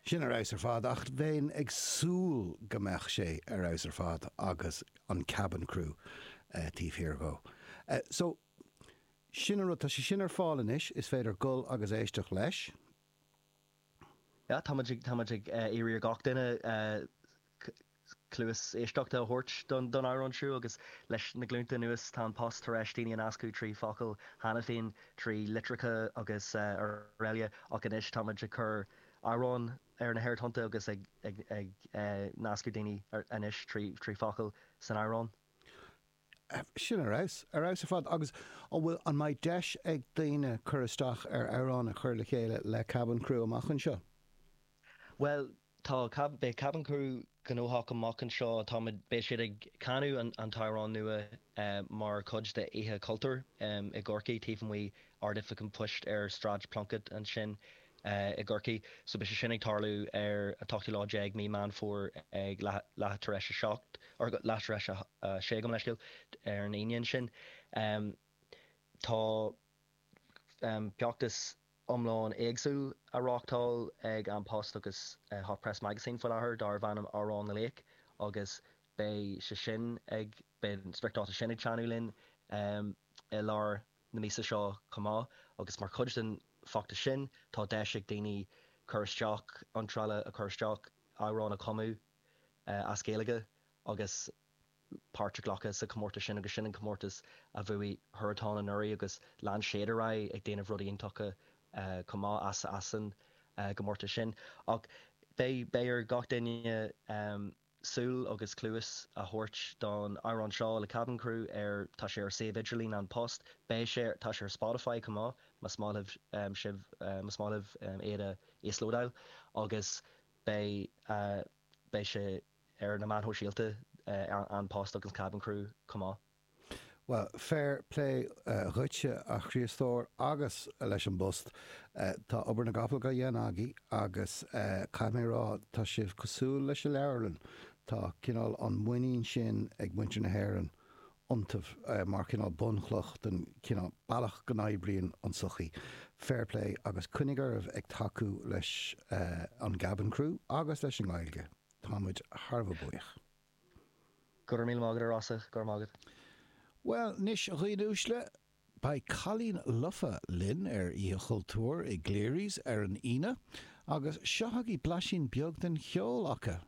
Sin ar fheabhas ar fad, ach bheinn ag súil go mbeadh sé ar fheabhas ar fad agus an Cabin Crew taobh thiar dhó. So, sin an rud, tá sé sin ar fáil anois, is féidir dul agus éisteacht leis. Yeah, tá muid ag, tá muid ag iarraidh ar gach duine cluas éisteachta a thabhairt don amhrán seo agus leis na glúnta anuas tá An Post tar éis daoine a nascadh trí focail cheana féin, trí litreacha agus araile ach anois tá muid ag cur amhrán ar na haerthonnta agus ag nascadh daoine anois trí focail san amhrán. Sin ar fheabhas, ar fheabhas ar fad. Agus an bhfuil, an mbeidh deis ag daoine cur isteach ar amhrán a chur le chéile le Cabin Crew amach anseo? Bhuel, tá, beidh Cabin Crew gnóthach amach anseo, táimid, beidh siad ag canadh an an t-amhrán nua mar chuid de Oíche Chultúir i gCorcaigh, taobh amuigh Ard-Oifig an Phoist ar Sráid Plunkett ansin i gCorcaigh. So beidh sé sin ag tarlú ar an t-ochtú lá déag mí Meán Fómhair ag leath tar éis a seacht, or leath tar éis a sé gabh mo leithscéal, ar an Aoine ansin. Tá feachtas iomlán éagsúil á reáchtáil ag An Post agus Hot Press Magazine faoi láthair darbh ainm Amhrán na Laoch agus beidh sé sin ag, beidh an spriocdháta sin ag teannadh linn i lár na míosa seo chomh maith agus mar chuid den bhfeachtas sin tá deis ag daoine cur isteach, iontrála a chur isteach, amhrán a chumadh as Gaeilge agus páirt a ghlacadh sa chomórtas sin agus sin an comórtas a bhuaigh Huartan anuraidh agus lean siad ar aghaidh ag déanamh rudaí iontacha chomh maith as as an gcomórtas sin. Ach beidh beidh ar gach duine súil agus cluas a thabhairt don amhrán seo le Cabin Crew ar tá sé ar suíomh idirlín An Post, beidh sé tá sé ar Spotify chomh maith más maith libh sibh más maith libh iad a íoslódáil agus beidh beidh sé ar na meáin shóisialta, An Post agus Cabin Crew chomh maith. Bhuel, fair play dhuitse, a Chriostóir, agus leis an bPost. Tá obair na gcapall á dhéanamh agaibh agus caithfidh mé a rá, tá sibh cosúil leis an leabharlann. Tá cineál an muinín sin ag muintir na hÉireann iontaibh mar chineál bunchloch den chineál bealach go n-oibríonn an tsochaí. Fair play agus coinnigh oraibh ag tacú leis an gCabin Crew agus leis an nGaeilge. Tá muid thar a bheith buíoch. Go raibh míle maith agat, a Rossa. Go raibh maith agat. Bhuel, anois, a dhaoine uaisle, beidh Cailín Lofa linn ar Oíche Chultúir i gCleary's ar an Aoine, agus seo agaibh blaisín beag den cheol acu.